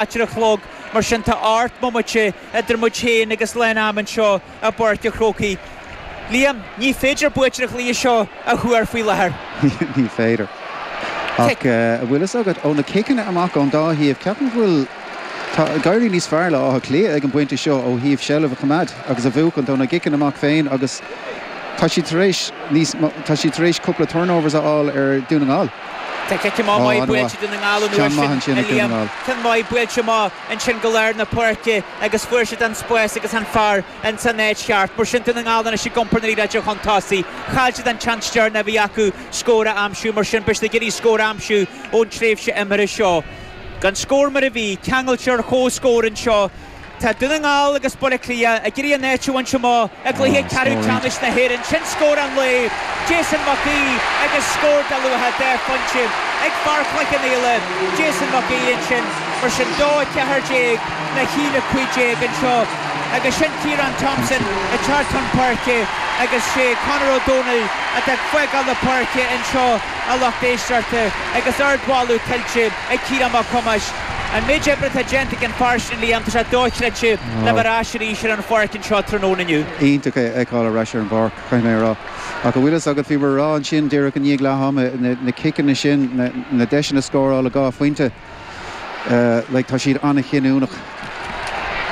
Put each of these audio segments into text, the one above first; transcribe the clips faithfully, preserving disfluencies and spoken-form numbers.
ceathair a chlog, mar sin tá ocht mbomaite idir muid féin agus lán am anseo i bPáirc an Chrócaigh. Liam, ní féidir buaiteoir an chluiche seo a thuar faoi láthair. Ní féidir. Ach an bhfuil fhios agat, ó na ciceanna amach ón dá thaobh, ceapaim go bhfuil, tá ag éirí níos fearr le Áth Cliath ag an bpointe seo ó thaobh seilbh a choimeád agus a bhuachan ó na gciceanna amach féin agus tá siad tar éis níos, tá siad tar éis cúpla turnovers a fháil ar Dún na nGall. Tá cic amach maith buailte Dún na nGall an uair sin, a Liam. Ceann maith buailte amach ansin go lár na páirce agus fuair siad an spás agus an fear ins an áit cheart. Mar sin Dún na nGall anois ag iompar na liathróide chun tosaigh. Chaill siad an tseans deireanach a bhí acu scór a aimsiú, mar sin beidh siad ag iarraidh scór a aimsiú ón tréimhse imeartha seo. Gan scór mar a bhí, ceangailte ar comhscór anseo. Tá Dún na nGall agus Baile Átha Cliath ag iarraidh a n-áit a bhaint amach i gcluiche ceathrú ceannais na hÉireann. Sin scór an lae, Jason Mac Aoidh agus scór de luach dhá phointe ag fear Chloich Cheann Fhaola, Jason Mac Aoidh ansin. Mar sin dó a ceathair déag le haon a cúig déag anseo agus sin Ciarán Thompson ag teacht chun páirce agus sé Conor Ó Domhnaill atá ag fágáil na páirce anseo a lucht éisteachta agus ardmholadh tuillte ag Ciarán Mac Thomáis. An méid oibre atá déanta ag an fear sin, Liam, tá sé dochreidte le bheith ar ais arís ar an pháirc anseo tráthnóna inniu. Iontach é a fheiceáil ar ais ar an bpáirc, caithfidh mé a rá. Ach an bhfuil fhios agat, bhíomar a rá ansin díreach i ndiaidh leath ama, na ciceanna sin, na deiseanna scórála dhá phointe, like tá siad an-chinniúnach.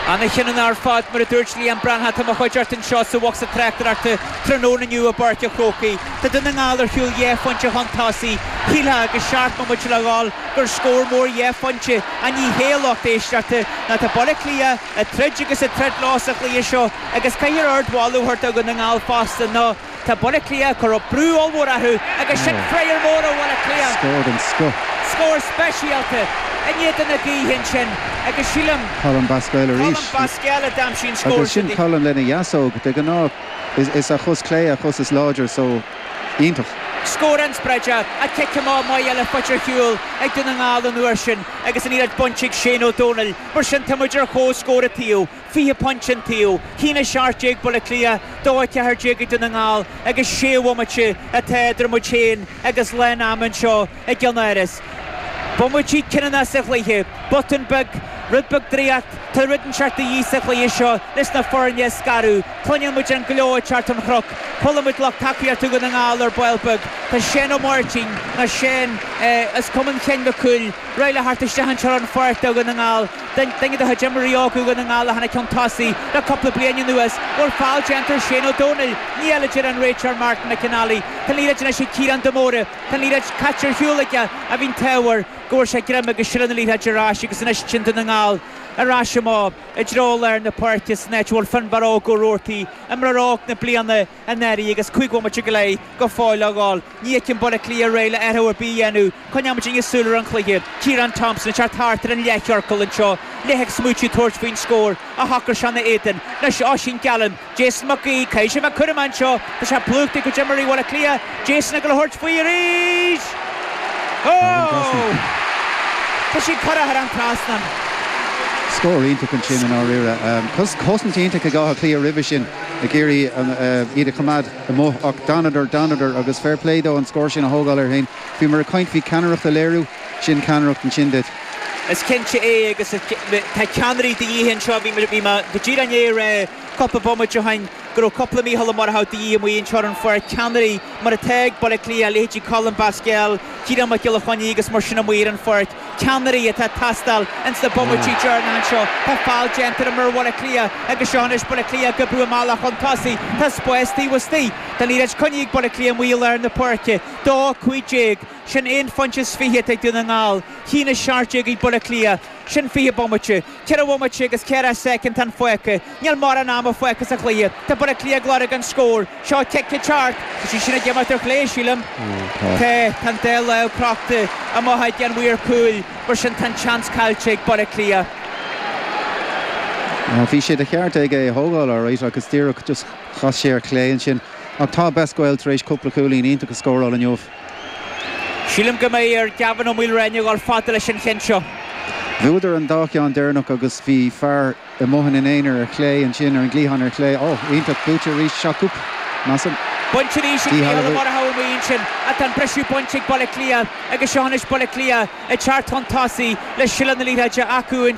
An-chinniúnach ar fad, mar a dúirt Liam Breathnach, atá i mo chuideachta anseo sa bhocsa tráchtaireachta tráthnóna inniu i bPáirc an Chrócaigh. Tá Dún na nGall ar shiúl dhá phointe chun tosaigh. Shílfeá agus seacht mbomaite le dhul gur scór mór dhá phointe ach ní hea a lucht éisteachta ná tá Baile Átha Cliath ag troid agus ag troid leo sa chluiche seo agus caithfear ardmholadh a thabhairt do Dhún na nGall fosta nó Tá Baile Átha Cliath ag cur brú ollmhór orthu agus sin friochar mór ó Bhaile Átha Cliath. Scór den scoth. Scór speisialta in éadan na gaoithe ansin agus sílim. Colm Basquel arís. Colm Basquel a d'aimsigh an scór Agus sin Colm lena dheasóg. De ghnáth is a chos clé a chos is láidir so iontach. Scór inspioráideach, ach cic amach maith eile faighte ar shiúl ag Dún na nGall an uair sin agus an liathróid bainte ag Shane Ó Domhnaill. Mar sin tá muid ar chomhscór an taobh. fiche pointe an taobh, a haon a seacht déag Baile Átha Cliath, dó a ceathair déag ag Dún na nGall agus sé bhomaite atá idir muid féin agus lán ama anseo i gCeann Áras. Bomaití cinniúnacha sa chluiche, botún beag, rud beag draíocht, tá rud inteacht de dhíth sa chluiche seo leis na foirne a scaradh. Cluineann muid an gleo ag teacht ón chnoc, chuala muid lucht tacaíochta Dhún na nGall ar ball beag, tá Seán Ó Máirtín, nó Seán as Cumann Sheáin Mhic Cumhaill, réidh le theacht isteach anseo ar an pháirc do Dhún na nGall. Duine de chuid imreoirí óga Dhún na nGall a tháinig chun tosaigh le cúpla bliain anuas. Bhfuil feall déanta ar Shane Ó Domhnaill? Níl, a deir an réiteoir Martin McAnally. Tá an liathróid anois ag Ciarán de Mórdha. Tá an liathróid caite ar shiúl aige ach bhí an t-ádh air go bhfuair sé greim agus sileadh na liathróide ar ais agus anois sin Dún na nGall ar ais amach i dtreo lár na páirce san áit a bhfuil Finbarr Óg Ó Roarty, imreoir óg na bliana anuraidh agus cúig bhomaite go leith go fóill le dhul. Ní fheicim Baile Átha Cliath réidh le athrú ar bith a dhéanamh. Coinneoidh muidinne súil ar an chluiche. Ciarán Thompson ag teacht thart ar an leathchiorcal anseo. Leith ag smaoitiú tabhairt faoin scór ach shocair sé ina éadan. Anois Oisín Gallen, Jason Mac Aoidh, caithfidh sé bheith cúramach anseo. Tá sé plúchta ag cuid imreoirí Bhaile Átha Cliath. Jason ag dul a thabhairt faoi arís! Oh! Tá sí curtha thar an trasnán. Scór iontach ansin i ndáiríre. Cosaint iontach ag Áth Cliath roimhe sin ag iarraidh iad a choimeád amuigh ach d'fhanadar, d'fhanadar agus fair play dó an scór sin a thógáil air féin. Bhíomar ag caint faoi ceannaireacht a léiriú, sin ceannaireacht ansin duit. Is cinnte é agus tá ceannairí de dhíth anseo. Bhí mé go díreach i ndiaidh a rá cúpla bomaite ó shin go raibh cúpla Mícheál Ó Murchú de dhíth amuigh anseo ar an pháirc, ceannairí mar atá ag Baile Átha Cliath, leithéidí Colm Basquel, Ciarán Mac Giolla Chainnigh agus mar sin amuigh ar an pháirc. Ceannairí atá ag teastáil ins na bomaití deireanacha anseo. Tá feall déanta ar imreoir Bhaile Átha Cliath agus seo anois Baile Átha Cliath ag oibriú a mbealach chun tosaigh. Tá spás taobh istigh. Tá an liathróid coinnithe ag Baile Átha Cliath amuigh i lár na páirce. Dó, cúig déag. Sin aon phointe is fiche atá ag Dún na nGall. Haon a seacht déag ag Baile Átha Cliath. Sin fiche bomaite. Ceithre bhomaite agus ceathracha soicind fágtha. Níl mórán ama fágtha sa chluiche. Tá Baile Átha Cliath ag lorg an scór. Seo cic ag teacht. Tá sí sin ag imeacht ar chlé, sílim. Tá. Tá an dá lámh crochta amach ag an mhaor cúil. Mar sin tá an seans caillte ag Baile Átha Cliath. Bhí sé de cheart aige é a thógáil alright agus díreach just chas sé ar chlé ansin. Ach tá Basquel tar éis cúpla cúilín iontach a scóráil inniu. Sílim go mbeidh ar Gavin Ó Maoilreáine a dhul fada leis an cheann seo. Bhuadar an dá cheann deireanach agus bhí fear amuigh ina aonar ar chlé ansin, ar an gcliathán ar chlé. Ó, iontach, buaite arís, seo coup, measaim. Bainte arís ag Mícheál Ó Murchú amuigh ansin ach tá an briseadh bainte ag Baile Átha Cliath agus seo anois Baile Átha Cliath ag teacht chun tosaigh le seilbh na liathróide acu.